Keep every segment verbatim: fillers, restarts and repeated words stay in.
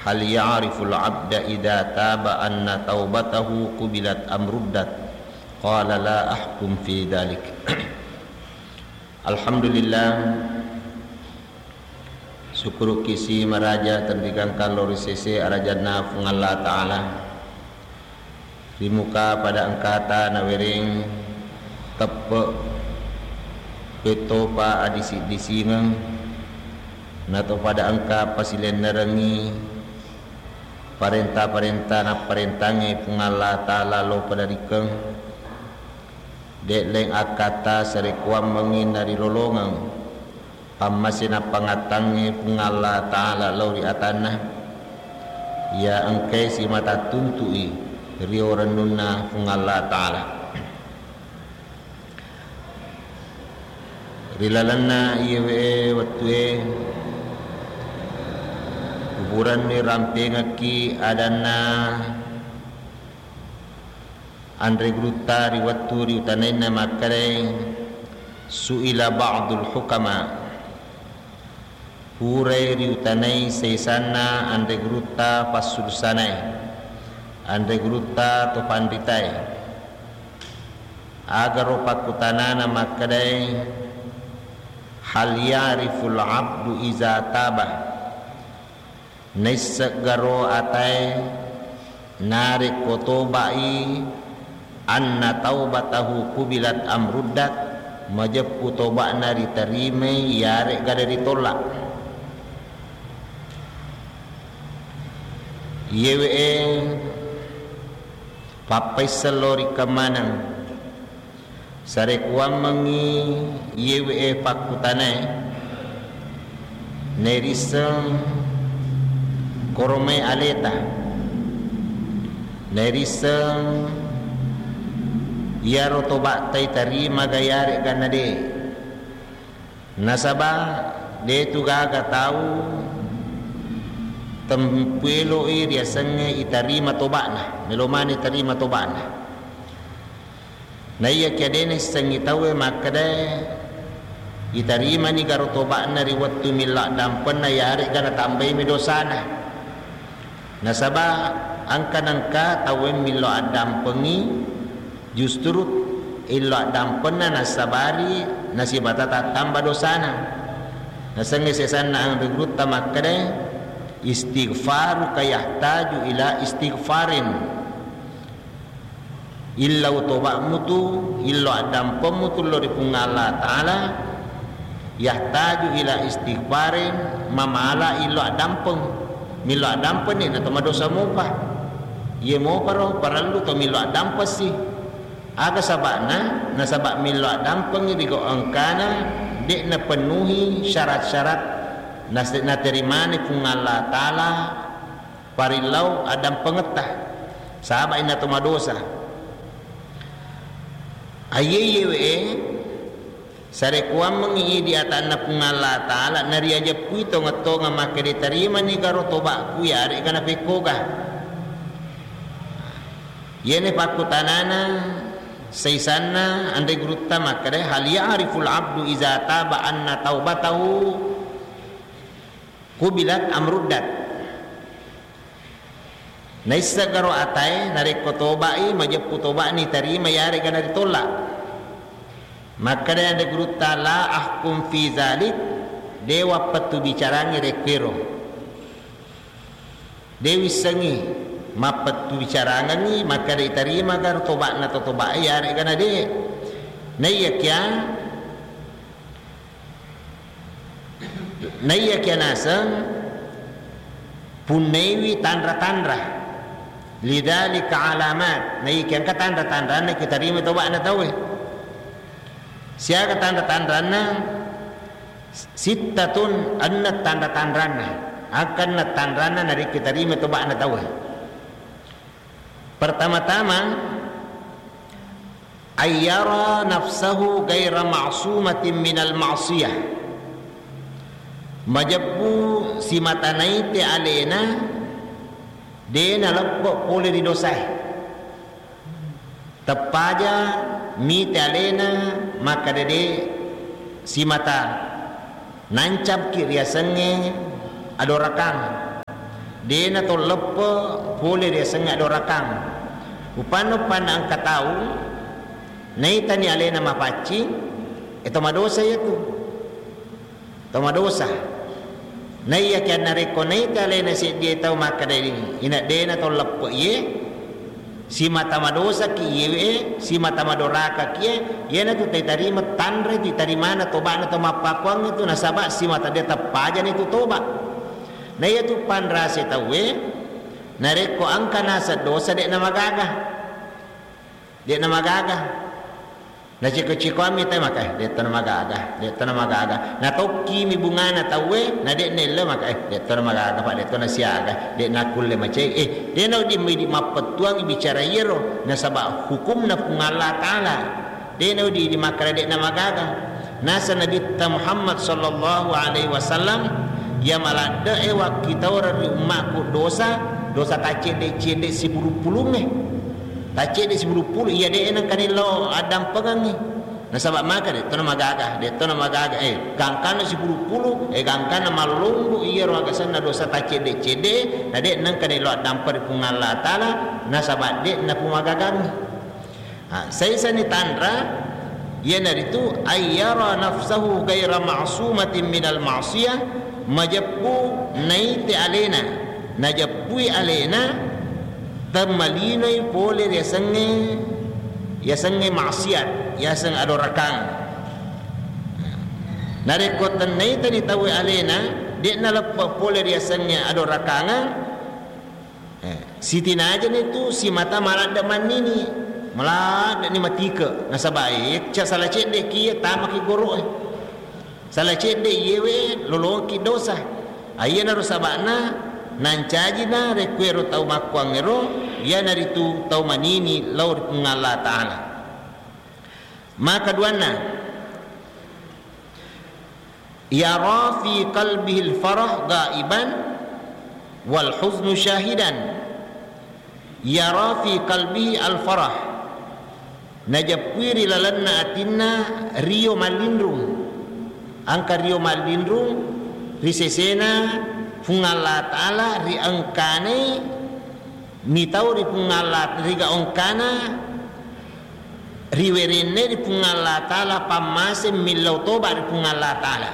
Hal ya'riful abda idza taba anna taubatahu qubilat am ruddat? Qala la ahkum fi dzalik. Alhamdulillah, sukkuruki si maraja tenrigangkang lao ri sese arajanna Puang Allah Ta'ala. Ri muka pada engkata nawereng teppe' pettopa adisi-disingeng, nato pada engka pasilennerengngi parenta-parenta napparentangnge Puang Allah Ta'ala lao pada rikeng, de' leng akkata sarekuammengngi narilolongeng pammase nappangattangnge Puang Allah Ta'ala lao ri atanna, iya engkae simata tuntu'i rio rennunna Puang Allah Ta'ala. Ri lalenna iyewe wettue, uburenni rampengekki adanna anre gurutta ri wettu riutanainna makkedae, su'ila ba'dul hukama, purai riutanai saisanna anre gurutta passulusanae, anre gurutta to panritae, agaro pakkutanana makkedae, hal ya'riful abdu iza taba, naisseggaro atae narekko toba'i, anna taubatahu qubilat am ruddat, majeppu toba'na ritarimai iyare'ga de' ritolla'. Iyewe'e pappaisseng lao ri kemmaneng. Sarekuammengngi iyewe'e pakkutanae, nairisseng koromai aleta, nairisseng iyaro toba'ta itarima ga iyare'ga na de'. Nasaba de'tu gaga tau tempueloi riasengnge itarima toba'na, melo maneng itarima toba'na. Naiyakia de' naissengngi tauwe makkedae itarimani garo toba'na ri wettu millau addampenna, iyare'ga natambaimi dosana. Nasaba engka nengka tauwe millau addampengngi, justru illau addampenna nassabari nasibata tattamba dosana. Nasengnge sesanna anre gurutta makkedae, istighfaruka yahtaju ila istighfarin. Illau toba'mu tu, illau addampengmu tu lao ri Puang Allah Ta'ala, yahtaju ila istighfarin, mamala illau addampeng. Millau addampenni na to madosa mopa. Iye moparo parellu to millau addampessi. Aga saba'na? Nasaba millau addampengngi ri gau engkana de' napenuhi syarat-syarat nas-, naterimani Puang Allah Ta'ala parillau addampengetta, saba' inna to madosa. Aiye iyewe'e, sarekuammengngi idi atanna Puang Allah Ta'ala, nariajeppui tongeng-tongeng makkeda tarimani garo toba'ku, iyare'ga napekkoga. Iyene pakkutanana saisanna anre gurutta makkeda, hal ya'riful abdu iza taba anna taubatahu qubilat am ruddat. Naisseng garo atae narekko toba'i, majeppu toba'ni tarima, iyare'ga naritolla'. Makkeda anre gurutta, la ahkum fi zalik, de' wappettu bicarangngi rekkuero. De' wissengngi mappettu bicarangengngi makkeda itarima garo toba'na to toba'i, iyare'ga na de'. Naiyakia Naiyakia naseng punnaiwi tanra-tanra, lidzalika alamat, naiyakia engka tanra-tanranna kitarimai toba'na tauwe. Siaga tanra-tanranna? Sittatun, enneng tanra-tanranna. Engka enneng tanranna narekko tarimai toba'na tauwe. Pertama-tama, ayyara nafsahu ghaira ma'sumatin minal ma'siyah. Majeppu simata naite alena de' naleppe' pole ri dosae. Teppaja mite alena makkeda de' simata nancapki riasengnge adorakang. Dena to leppe pole riasengnge adorakang. Upanna-upanna engka tau naitani alena mapaccing, e to madosa iyatu. To madosa. Naiyakiya narekko naita alena seddie tau makkeda, ina dena to leppe iye, simata madosaki iyewe, simata madorakaki iye, iyanatu taitarima, tanre titarimana toba'na to mappakuangnge tu, nasaba simata de teppajani tu toba. Na iyatu panrase tauwe, narekko engka naseng dosa, de'na magaga. De'na magaga. Naciko-cikoammi tau maka, eh, de'to namagaga, de'to namagaga. Natokkimi bungana tauwe, na de'na ello maka, eh, de'to namagaga, Pak, de'to nasiaga, de'na kulle macai. Eh, de'na wedding idi mappettuang bicara iyaro, nasaba hukumna Puang Allah Ta'ala. De'na wedding idi makkeda de'na magaga. Naseng Nabitta Muhammad sallallahu alaihi wasallam, iya maladde'e wakkitaureng ri ummakku dosa, dosa taccedde-cedde sipulung-pulungnge. Taccedde sipulung-pulung, iya de'e nengka nillau addampengengngi. Nasaba maka de'to namagaga, de'to namagaga, eh, gangkanna sipulung-pulung, eh, gangkanna mallombo iyaro agasenna dosa taccedde-cedde, na de nengka nillau addampeng ri Puang Allah Ta'ala, nasaba de'na pumagagangngi. Ah, saisani tanra, iyanaritu ayyara nafsahu ghaira ma'sumatin minal ma'siyah, majeppu naite alena, najeppui alena, temmalinoi pole riasengnge, yasengnge maksiat, yaseng adorakang. Narekko tennaitani tauwe alena, de'na leppe pole riasengnge adorakangeng, eh, sitinajani tu simata maladde mannini, maladdeni matike, nasaba, eh, ca sala cedde kiye tamaki goro'e. Sala cedde iyewe lolongki dosa. Aiyanaro saba'na nancajina rekkuero tau makkuangngero, iyanaritu tau manini lao ri Puang Allah Ta'ala. Makaduanna, yara fi qalbihil farah ghaiban wal huznu syahidan. Yara fi qalbihi al-farah, najeppui ri lalenna atinna rio mallinrung. Engka rio mallinrung ri sesena Puang Allah Ta'ala, ri engkana mitau ri Puang Allah, ri gaongkana riwerenne ri Puang Allah Ta'ala, pammaseng millau toba ri Puang Allah Ta'ala.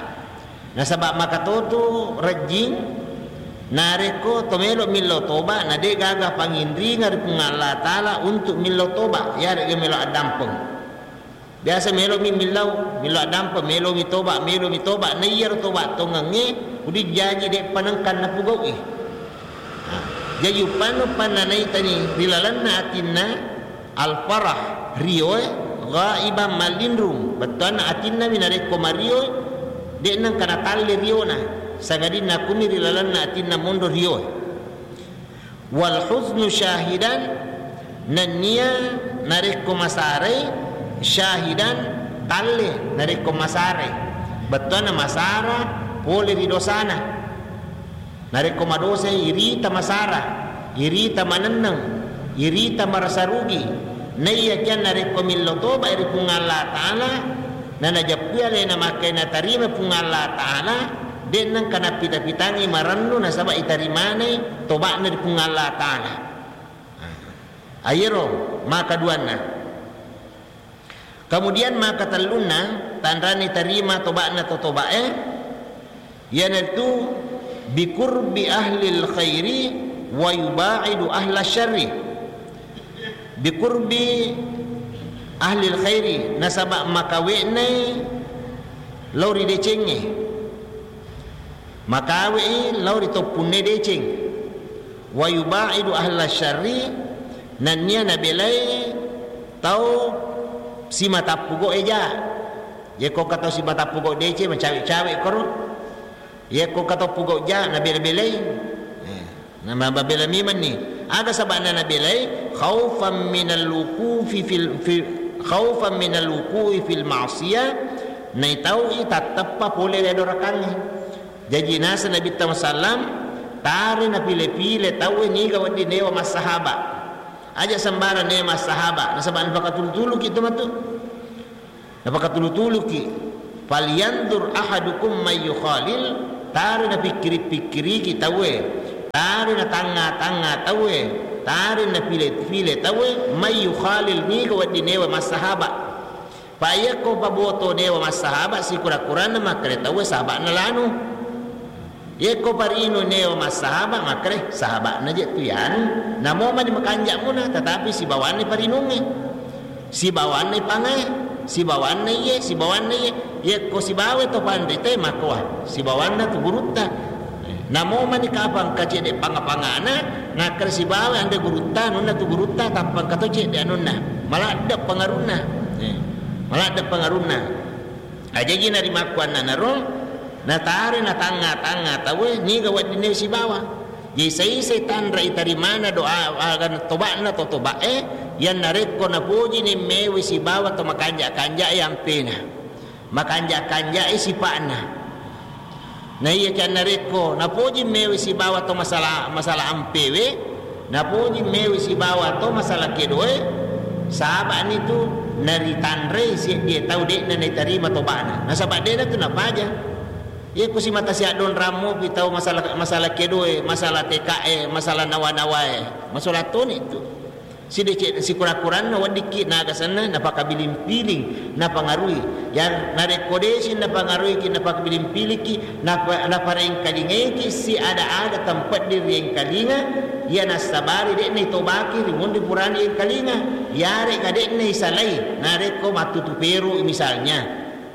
Nasaba makatotu rejjing, narekko to melo millau toba, na de gaga panginringa ri Puang Allah Ta'ala untuk millau toba, yaregga melo addampeng. Biasa melomi millau, millau addampeng, melomi toba, melomi toba, na iyaro toba tongengnge, udijaji de panengkan napugau'i. Nah, jaji uppannu panna naitani ri lalenna atinna, al-farah, rioe, ghaiban, mallinrung. Bettuanna atinnami narekko marioe, de'na engka natalle riona, sangadinna kumi ri lalenna atinna monro rioe. Wal huznu syahidan, nennia narekko masarai, syahidan, talle narekko masarai. Bettuanna masara pole ri dosana. Narekko madosai, irita masara, irita manenneng, irita marasa rugi. Naiyakiya narekko millau toba ri Puang Allah Ta'ala, nanajeppui alena makkai natarima Puang Allah Ta'ala, de'na engka nappita-pitangngi marennu nasaba itarimanai toba'na ri Puang Allah Ta'ala. Ayero makaduanna. Kemudian makatellunna, tanrani tarima toba'na to tobae, iyanaritu biqurbi ahlil khairi wa yuba'idu ahla syarri. Biqurbi ahlil khairi, nasaba makawe'nai lao ri decengnge. Makawe'i lao ri toppunne deceng. Wa yuba'idu ahla syarri, nennia nabelai tau simatappugo eja. Yekko ka tau simatappugo deceng, macawe-cawe koro. Yekko ka tau pugo ja, nabela-belai. Eh, namabela mimenni. Aga saba'na nabelai? Khaufan minal wuqufi fil, fil, khaufan minal wuqufi fil ma'siyah, naitau'i tatteppa pole ri adorakangnge. Jaji naseng Nabitta Musallam, tare napile-pile tauwe niga wedding newa massahaba. Aja sembarang newa massahaba, nasaba napakatulu-tuluki tu matu. Napakatulu-tuluki. Falyanzur ahadukum may yukhalil, tare napikkiri-pikkiriki tauwe. Tare na tangnga-tangnga tauwe, tare na pile-pile tauwe, may yukhalil, niga wedding newa massahaba. Pa yakko paboto newa massahaba, sikura-kuranna makkeda tauwe sahaba'na lanu. Yakko parinu newa massahaba, makkeda sahaba'na je tu yanu. Namo mani makanja muna, tetapi sibawanna parinungnge. Sibawanna ipangae, sibawanna iye, sibawanna iye. Yekko sibawa to panrite, makkowa sibawanna tu gurutta. Namo mani kapang kacedde panga-pangana, nakkeda sibawa anre gurutta, anunna tu gurutta, tappang kato cedde anunna. Maladde pengarunna. Eh, maladde pengarunna. Ajaji narimakkuannanaro, natare natangnga-tangnga tauwe, niga weddinne sibawa. Jadi saisai tanra itarimana doa, aga toba'na to toba'e, yannarekko napojini mewe sibawa to makanja-kanjae ampena, makanja-kanjae sipa'na. Na iya ki annarekko napoji mewe sibawa to masala, masala ampewe, napoji mewe sibawa to masala kedoe, saba'ni tu naritanrei seddie tau de'na naitarima toba'na. Nasaba de'na tu napaja. Iya ko simata siaddonrang mopi tau masala, masala kedoe, masala tekae, masala nawa-nawae. Masola toni tu. Sideceng sikura-kuranna weddikki nagasenna napakabiling-piling, napangarui. Yang narekko desi napangaruiki, napakabiling-piliki, napa-, naparengkalingaiki si ada-ada tempat diriengkalinga, iya nassabari de'na itobaki rimunri purani engkalinga, yarega de'na isalai, narekko mattutu peru misalnya.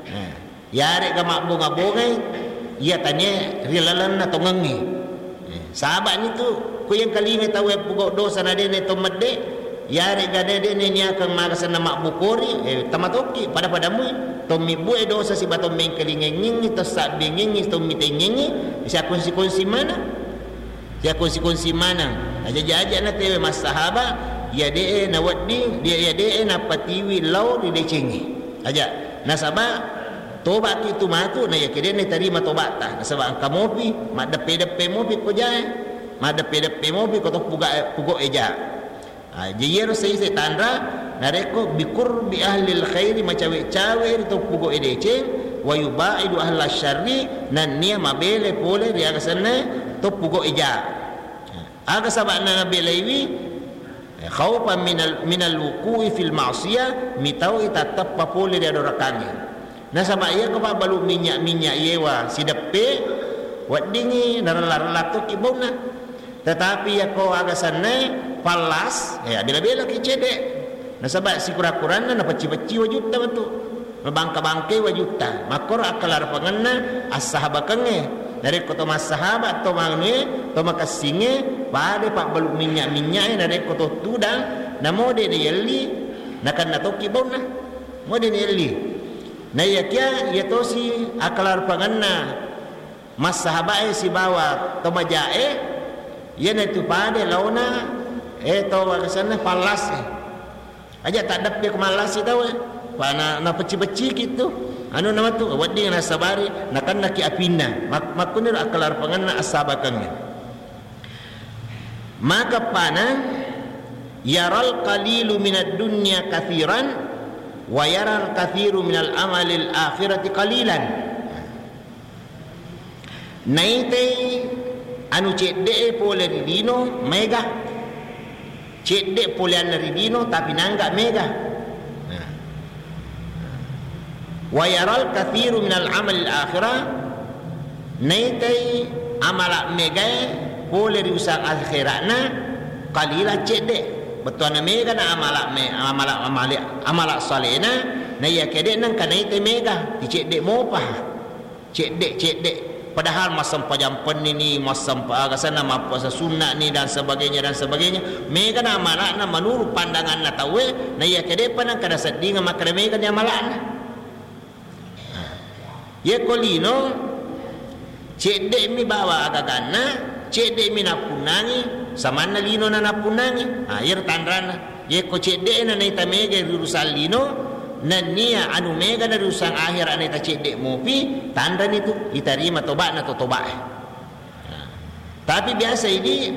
Nah. Yarega mabbonga-bongai, iya tania ri lalenna tongengnge. Eh, saba'ni tu, ku engkalinga tauwe pugau dosa na de'ne to medde, yarega de-, de'ne niakeng magasenna mabbukori, eh, tamatokki, pada-pada mui, tommi bue dosa siba tommi engkalingengngi, to sabbengengngi, tommi tengengngi, siakonsi-konsi maneng. Siakonsi-konsi maneng. Aja-, aja-, aja natewe massahaba, iya de'e nawedding, dia iya de'e napatiwi lao ri decengnge. Aja. Nasaba toba'ki tu matu, na iya kede'na tarima toba'ta. Nasaba engka mopi, maddeppe-deppe mopi ko jae. Maddeppe-deppe mopi ko to puga-, pugo eja. Ah, jadi iyaro saisai tanra, narekko biqurbi ahlil khairi, macawe-cawe ri to pugo edeceng, wa yubaidu ahlas syarri, nannia mabele pole ri aga senna to pugo eja. Aga saba'na nabelaiwi, khaufan minal, minal wuqu'i fil ma'siyah, mitau itatteppa pole ri adorakangnge. Nasaba iya ko pabbalu minnya-minnya yewa sideppe, weddingngi narella-rella tokki baunna. Tetapi iya ko aga sennae pallas, eh, abela-belaki cedde. Nasaba sikura-kuranna napecci-pecci wajutta metu. Mabangka-bangkai wajutta. Makkoro akkalarpangenna assahabakengnge. Narekko to massahaba, to manue, to makessingnge, pada pabbalu minnya-minnya e narekko to tudang, namo de nayelli, nakenna tokki baunna. Mo de nayelli. Naiyakia iya tosi akkalarpangenna massahabae sibawa to majae, iyanatu pada laona, eh, to aga senna pallas e. Aja taddeppe ko mallasi tau e. Pa na, napecci-pecciki tu. Anu nama tu, wedding nassabari, nakennaki apinna. Mak-, makkuniro akkalarpangenna assabakengnge. Maka pana, yaral qalilu minad dunya kathiran, wa yaral kathiru minal amalil akhirati qalilan. Naitai anu cedde'e pole ri lino maega. Cedde poleanna ri lino, tapi nangga mega. Nah. Wa yaral kathiru minal amalil akhirah, naitai amala megae pole ri usang akhera'na, qalila cedde. Bettuanna mega na amala me-, amala, amali-, amala salena, naiya kede nengka naitai mega, ticedde mopa. Cedde-cedde. Padahal massempajang pennini, massempa-, aga senna, mappuasa sunnani, dan sebagainya, dan sebagainya. Mega na amala'na menurut pandanganna tauwe, na iya kedepa nengka naseddinga makkeda mega ni amala'na. Nah. Yekko lino, cedde'mi bawa agaganna, cedde'mi nappunnangi, samanna lino na nappunnangi. Ah, iyaro tanranna. Yekko cedde'na naita mega ri urusan lino, nennia anu mega na ri urusan akhera naita cedde mopi, tanrani tu, itarima toba'na to toba'e. Nah. Tapi biasa idi,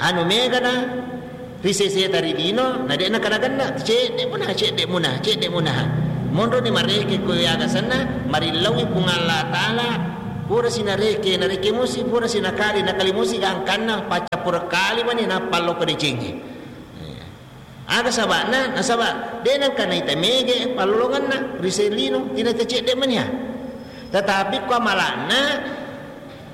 anu mega na ri seseta ri lino, na de'na kana genna, cedde muna, cedde muna, cedde muna. Monroni mareke ko yaga senna, marillaui Puang Allah Ta'ala, Pura si nareke, nareke musi, pura si nakali, nakali musi, gangkanna paccappureng kali mani nappa lokko decengnge. Aga saba'na? Nasaba' de' nengka naita mege pallolongenna ri selino, tina tacedde' mania. Tetapi ko amala'na,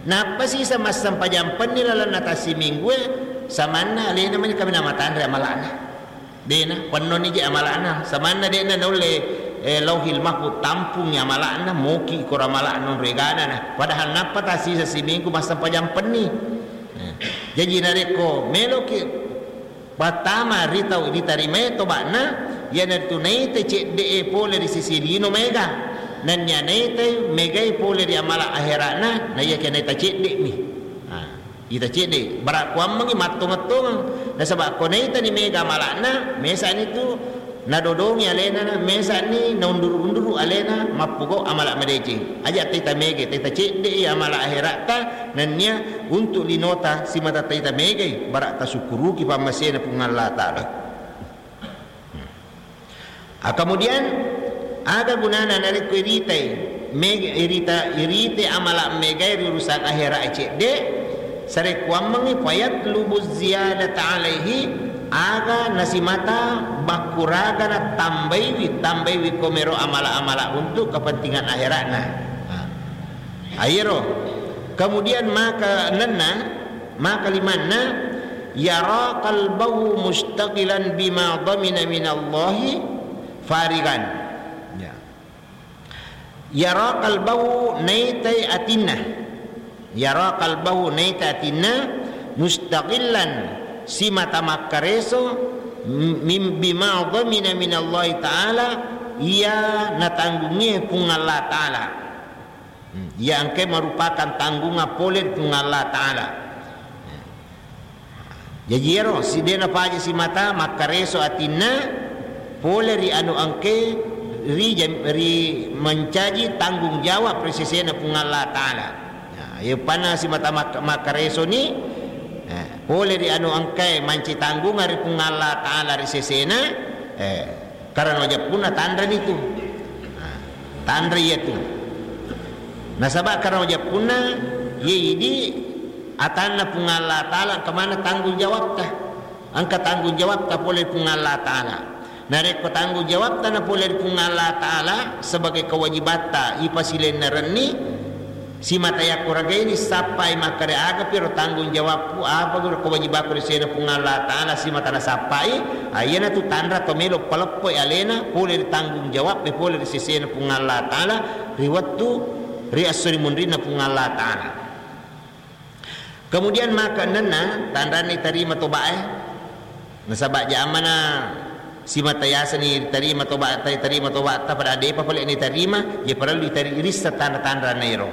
nappa sisa massempajang penni lalenna tassiminggue, samanna alena mani kaminang matanre amala'na. De'na, pennoni je amala'na. Samanna de'na naulle, eh, Lauhil Mahfud tampungi amala'na, moki koro amala'na onro egana na. Padahal nappa tasisa siminggu massempajang penni. Eh, jaji narekko meloki pattama ri tau ditarimae toba'na, iyanaritu naita cedde'e pole ri sisi lino maega. Nennia naita megai pole ri amala ahera'na, na iyakia naita cedde'mi. Ah. Ita cedde', bara' kuammengngi mattongeng-tongeng. Nasaba' ko naitani mega amala'na, mesa'ni tu nadodongi alena, mesa'ni naunduru-unduru alena, mappogau' amala' madeceng. Aja' taita mega, taita cedde'i amala' ahera'ta, nennia untuk linota simata taita megai, bara' tasukkuruki pammasena Puang Allah Ta'ala. Ah, kemudian, aga gunana narekko iritai, meg-, irita-, irite amala' megai ri urusan ahera' cedde', sarekkuammengngi fayatlubu ziyadata alaihi, aga nasimata bakkuraga natambaiwi, tambaiwi komero amala'-amala' untuk kepentingan ahera'na. Ah. Ayero. Kemudian maka nenna, maka limanna, yara qalbahu mustaqilan bima dhamina minallahi farigan. Ya. Yara qalbahu naitai atinna. Yara qalbahu naitai atinna mustaqillan simata makkareso mim-, bima dhamina minallahi ta'ala iya natanggungnge Puang Allah Ta'ala. Hmm, iya engkae merupakan tanggungan pole ri Puang Allah Ta'ala. Jaji iyaro, si de' napaja simata makkareso atinna pole ri anu engkae ri jam-, ri mancaji tanggung jawab ri sesena Puang Allah Ta'ala. Nah, iya panna simata mak-, makkaresoni, eh, pole ri anu engkae mancaji tanggungan ri Puang Allah Ta'ala ri sesena, eh, Karena wajappunna tanreni tu. Nah, tanre iya tu. Nasaba karena wajappunna iya idi atanna Puang Allah Ta'ala engka maneng tanggung jawabta. Engka tanggung jawabta pole Puang Allah Ta'ala. Narekko tanggung jawabta na pole ri Puang Allah Ta'ala sebagai kewajibatta ipasilennerenni, Simata yakko ragaini sappai makkeda, aga piro tanggung jawabku, apa guru kewajibakku ri sesena Puang Allah Ta'ala simata nasappai, ah, iyanatu tanra to melo paleppoi alena pole ri tanggung jawab, pole ri sesena Puang Allah Ta'ala ri wettu ri esso ri munrinna Puang Allah Ta'ala. Kemudian maka ennenna tanranna itarima tobae, nasaba jamana simata yasani tarima toba, tarima tobatta pada depa pale ni tarima, ya parellu itari-, irissa tanra-tanranna ero.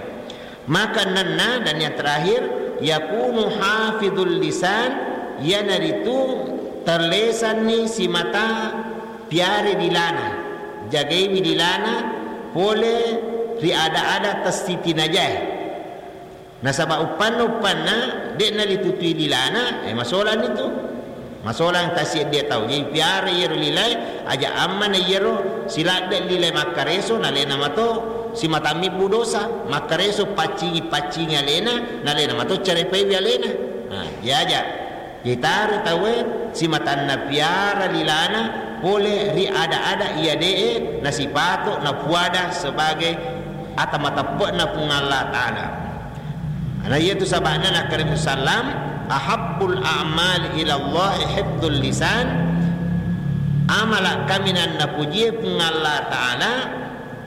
Maka ennenna dan yang terakhir, yakunu hafidhul lisan, iyanaritu terlesanni simata piare dilana, jagaiwi dilana pole ri ada-ada tessitinajae. Nasaba uppanna-uppanna de'na litutui lilana, eh, masolanni tu. Masolang tasseddia tau. Jadi piara iyaro lilae, aja ammana iyaro siladde lilae makkareso, nalena mato simatammi bu dosa, makkareso paccingi-paccingi alena, nalena mato carepaiwi alena. Nah, diaja. Itaro tauwe simatanna piara lilana pole ri ada-ada iya de'e nasipato napuada sebagai ata mateppe'na Puang Allah Ta'ala. Ana iyatu saba'na nakkeda Nabi sallam, "Ahabbul a'mali ilallahi hifdzul lisan." Amala kaminang napujie Puang Allah Ta'ala,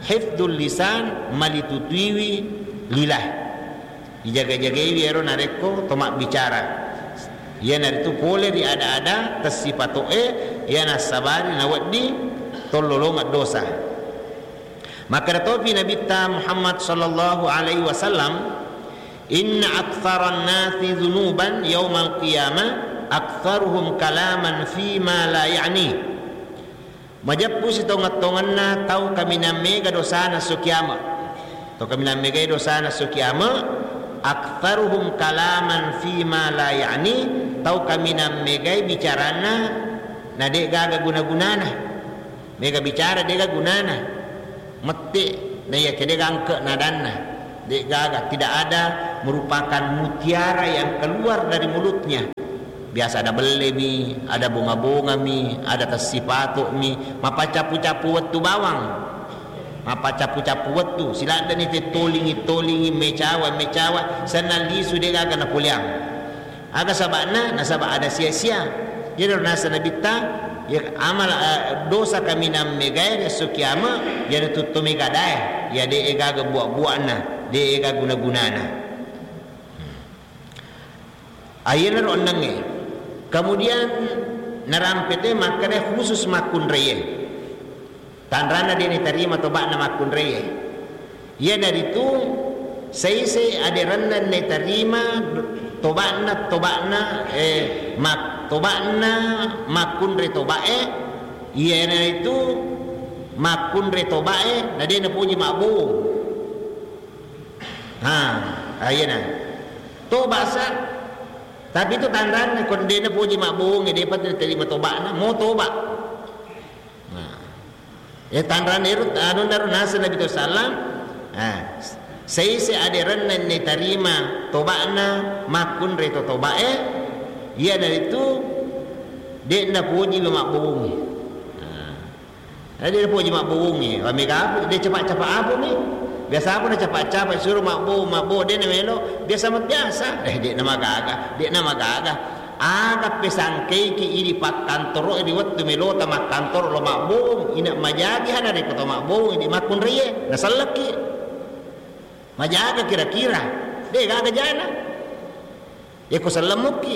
hifdzul lisan, malitutuiwi lilae. Ijaga-jagaiwi ero narekko to mabbicara. Iyanaritu pole ri ada-ada tessipato'e, iya nassabari nawedding tollolongeng dosa. Makkeda topi Nabitta Muhammad sallallahu alaihi wasallam, "Inna aktsaran nasi dzunuban yaumal qiyamah aktsaruhum kalaman fima la ya'ni." Majeppu sitongeng-tongenna tau kaminang mega dosana esso kiama. Tau kaminang megai dosana esso kiama, aktsaruhum kalaman fima la ya'ni, tau kaminang megai bicaranna na de gaga guna-gunana. Mega bicara de gaga gunana. Mette na iya kede gangke nadanna. De'gaga, tidak ada merupakan mutiara yang keluar dari mulutnya. Biasa ada bellemi, ada bonga-bongami, ada tessipato'mi, mapaccapu-capu wettu bawang. Mapaccapu-capu wettu, siladdeni tettolingi-tolingi, mecawa-mecawa, senna lisu de'gaga napoleang. Aga saba'na? Nasaba ada sia-sia. Iyaro naseng Nabitta, ya, amal, eh, dosa kaminang megae ri esso kiama, iyanatu to mega dae, ya, de'e gaga buwa-buwana, de'e gaga guna-gunana. Ayenaro ennengnge. Kemudian narampe te makkeda khusus makkunraie. Tanranna de' nitarima toba'na makkunraie. Iyanaritu saise aderenna nitarima toba'na, toba'na, eh, mak-, toba'na makkunrai toba'e, iyanaritu makkunrai toba'e na de' napoji mabbowong. Ha, ayana. Toba sa, tapi itu tanranna ko de' napoji mabbowongnge, de'pa terima toba'na, mo toba. Nah. Ya, tanranna ero, anunna ro naseng Nabi sallam, ah, saise aderenna nitarima toba'na makkunrai to toba'e, iyanaritu de' napoji mabbowongnge. Nah. Eh, de' napoji mabbowongnge, wa mega apa, de' capa'-capa' apa mi. Biasa apa na capa'-capa' suro mabbowong, mabbowong, de' namelo, biasa ma biasa. Eh, de' namagaga, de' namagaga. Aga pesangkeiki idi pakkantoro ri wettu melota makkantoro lo mabbowong, ina majaji hana rekko to mabbowong idi makkunraie, nasellekki. Majaga kira-kira. De' gaga jana. Yako sellemmukki,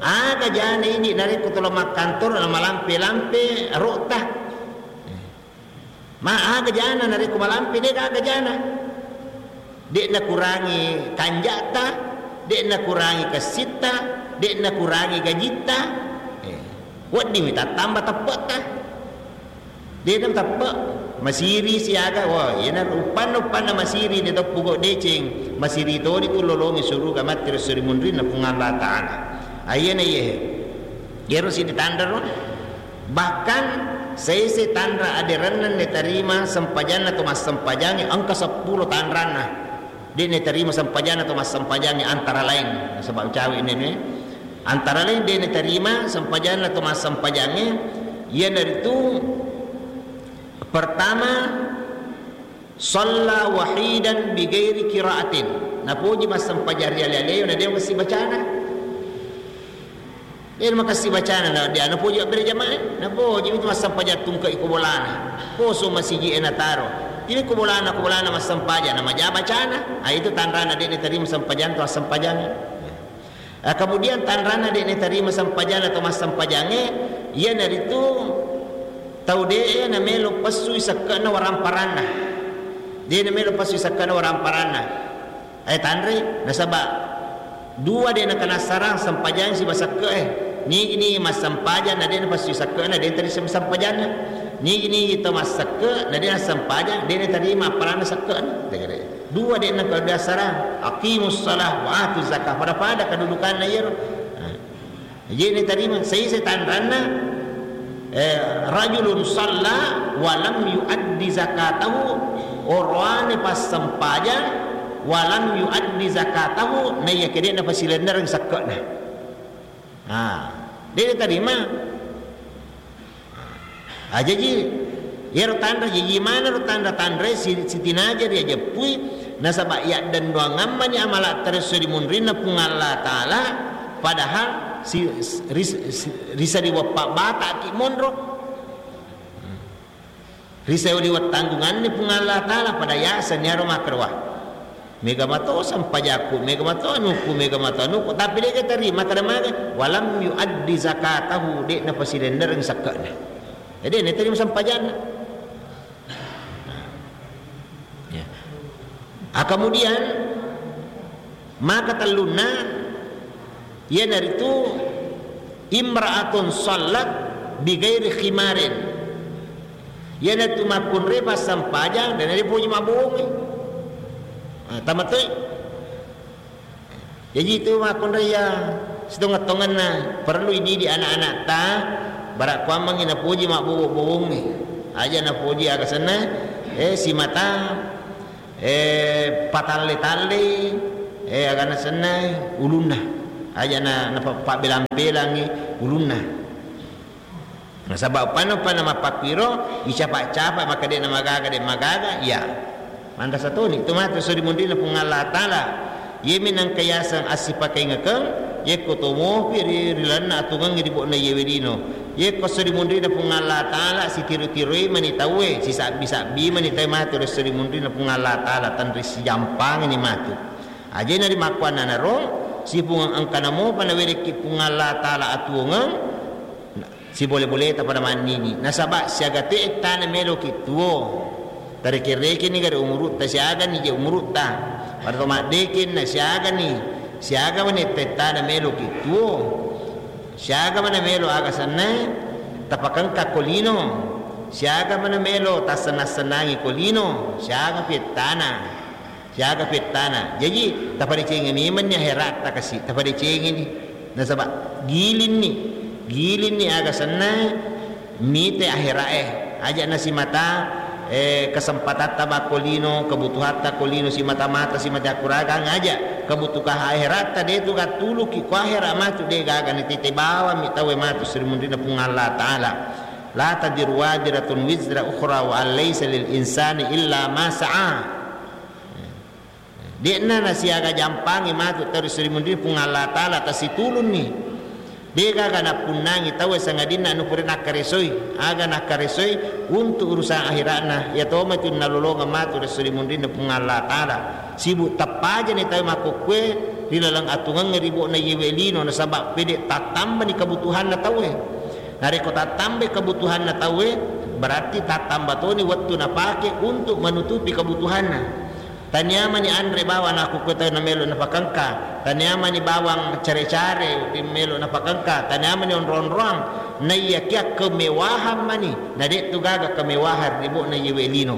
aga jana idi narekko tolo makkantoro na malampe-lampe rota. Ma aga jana narekko malampe, de' gaga jana. De' nakurangi kanja'ta, de' nakurangi kessitta, de' nakurangi gajitta. Eh, weddingmi tattamba teppe'ta. De' nateppe', masiri siaga, wah, iyana uppanna, uppanna masiri de' teppuko deceng, masiri toni tu lolongi suruga matti ri esso ri munrinna Puang Allah Ta'ala. Ayana iye, iyaro siddi tanra ro, bahkan saise tanra aderenna nitarima sempajanna to massempajangnge engka seppulo tanranna. De' natarima sempajanna to massempajangnge antara lain, nasaba cawe' nene. Antara lain de' natarima sempajanna to massempajangnge, iyanaritu pertama, shalla wahidan bighairi qiraatin. Napoji massempajang ri ale-aleo na de' masibacana. De' makessing bacana na dia, napoji mabbere jamaah, napoji itu massempajang tungke' ko bolana. Poso masiji e nataro. Ini ko bolana, ko bolana massempajang, na maja bacana. Ah, itu tanrana de' natarima sempajang to massempajang. Ah, kemudian tanrana de' natarima sempajang atau massempajangnge, iyanaritu tau de' namelo pessui sekke'na waramparanna. De' namelo pessui sekke'na waramparanna. Eh, tanrei, nasaba dua de' nakenna sarang sempajang siba sekke'e. Nigi-nigi massempajang na de' napessui sekke'na, de' natarima sempajanna. Nigi-nigi to massekke' na de' nassempajang, de' natarima appalanna sekke'na. Dua de' nakenna sarang. Aqimus shalah wa atuz zakah. Pada-pada kedudukanna iyaro. Nah. Jadi natarima, saise tanranna, eh, rajulun shalla wa lam yuaddi zakatahu, oroane passempajang, wa lam yuaddi zakatahu, naiyakia de' napasilennereng sekke'na. Ah, de' natarima. Ah, jaji, iyaro tanra, jaji maneng ro tanra-tanrae si-, sitinaja riajeppui, nasaba yaddennuangammani amala' taresso ri munrinna Puang Allah Ta'ala, padahal si-, ris-, si-, risaliweng pabbata'ki monro. Risaliweng tanggunganni Puang Allah Ta'ala, pada yasenni aro makkedawa. Mega mato sempajakku, mega mato anukku, mega mato anukku, tapi de' gaga tarima, kada maga, walam yuaddi zakatahu, de' napasilennereng sekke'na. Jadi, de' natarima sempajanna. Ya. Ah, kemudian, maka tellunna, iyanaritu imra'atun shallat bighairi khimarin. Iyanatu makkunrai passempajang, de' napoji mabbowongngi. Ah, tamatoi. Jaji itu makkunrai ya sitongeng-tongenna perlu ididik anak-anakta, bara' kuammengngi napoji mabbowo-bowongngi. Aja' napoji aga senna, eh, simata Eh, patalle-tallei, eh, agana sennai ulunna. Aja na, na pa-, pabbelang-belangi ulunna. Nasaba uppanna, uppanna mappakkuiro, icapa-capa maka de' namagaga, de' magaga, iya. Manrasa toni tu matu esso ri munrinna Puang Allah Taala. Iyemi nengka yaseng assipakaingekeng, yekko to mopi ri, ri lalenna atuongengnge ri bo'na iyewe lino. Yekko esso ri munrinna Puang Allah Taala, sitiro-tiroi mani tauwe, sisabbi-sabbi mani tauwe matu ri esso ri munrinna Puang Allah Taala, tenri sijampangini matu. Ajena rimakkuannanaro, sipungeng engkana mopa nawerekki Puang Allah Taala atuongeng, sibole-boleta pada mannini. Nasaba siaga to ettana meloki tuo. Tareke-rekeni gare umurutta, siagani je umurutta. Pada to maddekenna, siagani, siaga mani ettana meloki tuo. Siaga mana melo aga senna tapakengka ko lino. Siaga mana melo tassenna-sennangi ko lino. Siaga pettana. Siaga pettana. Jaji, tapadecengi memenni aheratta kasi, tapadecengini. Nasaba gilinni, gilinni aga senna mite aherae. Aja nasimata, eh, kesempatatta bakko lino, kebutuhatta ko lino, simata-mata, simata akkuragang aja. Kebutuhan aheratta de tu gattuluki ko ahera matu de gaga ni tete bawang mi tauwe matu ri munrinna Puang Allah Taala. La taziru waziratun wizra ukhra wa an laisa lil insani illa ma sa'a. De'na nasiaga jampangi matu tau ri munrinna Puang Allah Taala, tasitulunni. De gaga nappunnangi tauwe sangadinna anu pura nakkaresoi, aga nakkaresoi untuk urusan akhiratna, iya tomatu nalolongeng matu ri munrinna Puang Allah Taala. Sibu tappajani tauwe makkukkue ri laleng atuongengnge ri bo'na iyewe lino, nasaba pede tattambani kebutuhanna tauwe. Narekko tattambai kebutuhanna tauwe, berarti tattamba toni wettu napake untuk menutupi kebutuhanna. Taniamani anre bawang nakkukkue tau namelo napakengka, taniamani bawang care-care melo napakengka, taniamani onro-onroang, naiyakia kemewahan mani, na de tu gaga kemewahan ri bo'na iyewe lino.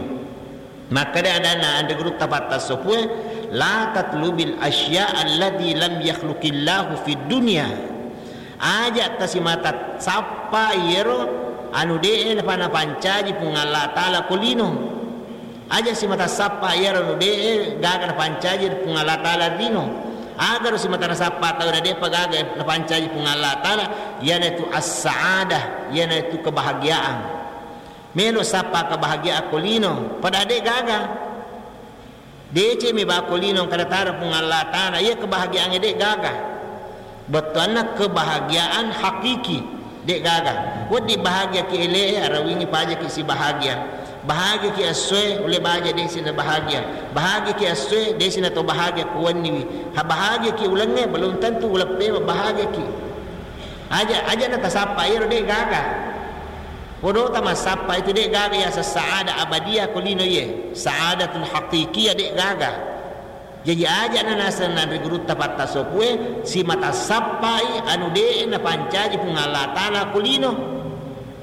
Makkeda adanna anre gurutta pattassopue, la tatlubil asya allati lam yakhluqillahu fid dunya. Aja tasimata sappa iyero anu de'e napa napancaji Puang Allah Taala ko lino. Aja simata sappa iyaro anu de'e gaga napancaji Puang Allah Taala lino. Agaro simata nasappa tau na de'pa gaga napancaji Puang Allah Taala, iyanaitu as-sa'adah, iyanaitu kebahagiaan. Melo sappa kebahagiaan ko lino, pada de gaga. Decemi bako lino engka nataro Puang Allah Taala, iya kebahagiaangnge de gaga. Bettuanna kebahagiaan hakiki, de gaga. Wedding bahagiaki ele'e, arawingi pajaki sibahagia. Bahagiaki essoe, ulle baja de sina bahagia. Bahagiaki essoe, de sina to bahagia kuwenniwi. Ha bahagiaki ulengnge, belum tentu uleppe bahagiaki. Aja, aja natasappa iyaro de gaga. Podota massappa itu de gaga yaseng saada abadiyah ko lino iye. Saadatul haqiqiyah de gaga. Jaji aja na naseng nanre gurutta pattassopue, simata sappai anu de napancaji Puang Allah Taala ko lino.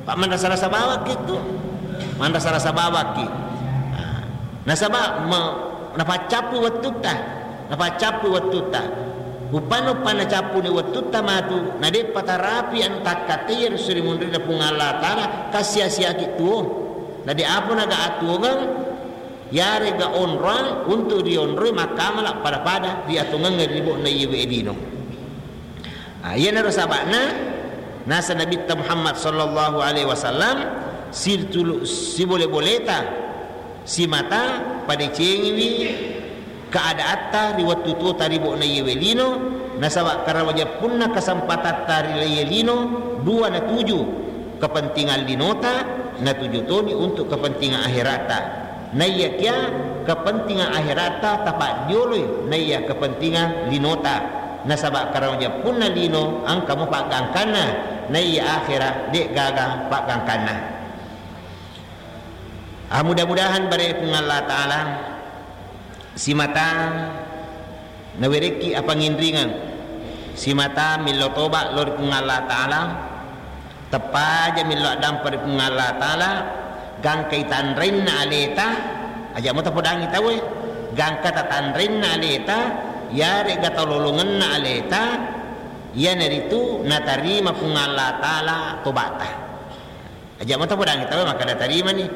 Pa manrasa-rasa bawakki tu. Manrasa-rasa bawakki. Nah, nasaba me-, napaccappu wettutta. Napaccappu wettutta. Uppanna-uppanna cappuni wettutta matu, na de'pa tarapi anu takkattei ri munrinna Puang Allah Taala, kassia-siaki tuo. Na de apa naga atuongeng, yarega onroang untuk rionroi makkamala pada-pada ri atuongengnge ri bo'na iyewe lino. Ah, iyanaro saba'na, naseng Nabitta Muhammad sallallahu alaihi wasallam, situlu-, sibole-boleta, simata padecengiwi keadaatta ri wettu tuota ri bo'na iyewe lino, nasaba karawajeppunna kesempatatta ri iye lino, dua natuju, kepentingan linota, natuju toni untuk kepentingan akheratta. Naiyakia kepentingan akheratta tapaddioloi naiya kepentingan linota. Nasaba karawajeppunna lino engka mo paggangkanna, naiya akhera de gaga paggangkanna. Ah, mudah-mudahan bare Puang Allah Taala simata nawerekki apanginringeng, simata millau toba lao ri Puang Allah Taala, teppaja millau addampa ri Puang Allah Taala, gangkai tanrenna aleta, aja mo tapodangi tauwe, gangka tatanrenna aleta, yarega talolongenna aleta, iyanaritu natarima Puang Allah Taala tobata. Aja mo tapodangi tauwe makkada tarimani.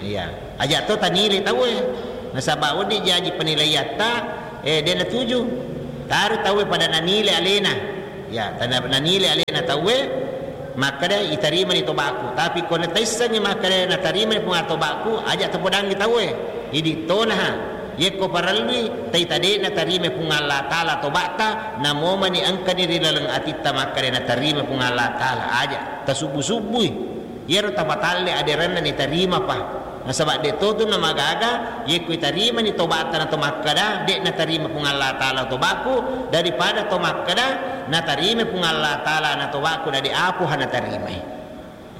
Iya. Aja to tanile tauwe. Nasaba' wedding jaji penilaiatta, eh, de' natuju. Taro tauwe pada nanile alena. Ya, tana-, nanile alena tauwe, makkeda itarimani toba'ku. Tapi ko nataissengngi makkeda natarimani Puang Allah toba'ku, aja' tapodangngi tauwe. Idi' tonaha. Yekko parellui, taita de' natarima Puang Allah Ta'ala toba'ta, namomani engkani ri laleng atitta makkeda natarima Puang Allah Ta'ala. Aja', tasubbu-subbui. Iyaro tapatalle aderenna nitarimapa. Nasaba' de' totu namagaga, yekko itarimani toba'ta na to makkeda, de' natarima Puang Allah Ta'ala toba'ku, daripada to makkeda, natarima Puang Allah Ta'ala na toba'ku, dadi apoha natarimai.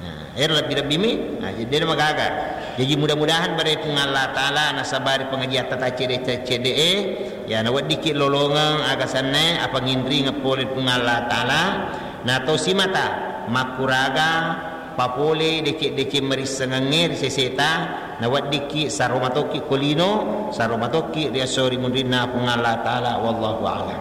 Nah, ero lebbi-lebbimi, nah, jadi de' namagaga. Jaji mudah-mudahan bare Puang Allah Ta'ala nasabari pengajiatta taccede-cedde'e, ya, naweddikki lolongeng aga sennae, apa nginringeng pole Puang Allah Ta'ala, na to simata makkuraga papole deceng-deceng marissengengnge ri seseta, naweddikki saroma tokki ko lino, saroma tokki ri esso ri munrinna Puang Allah Ta'ala. Wallahu a'lam.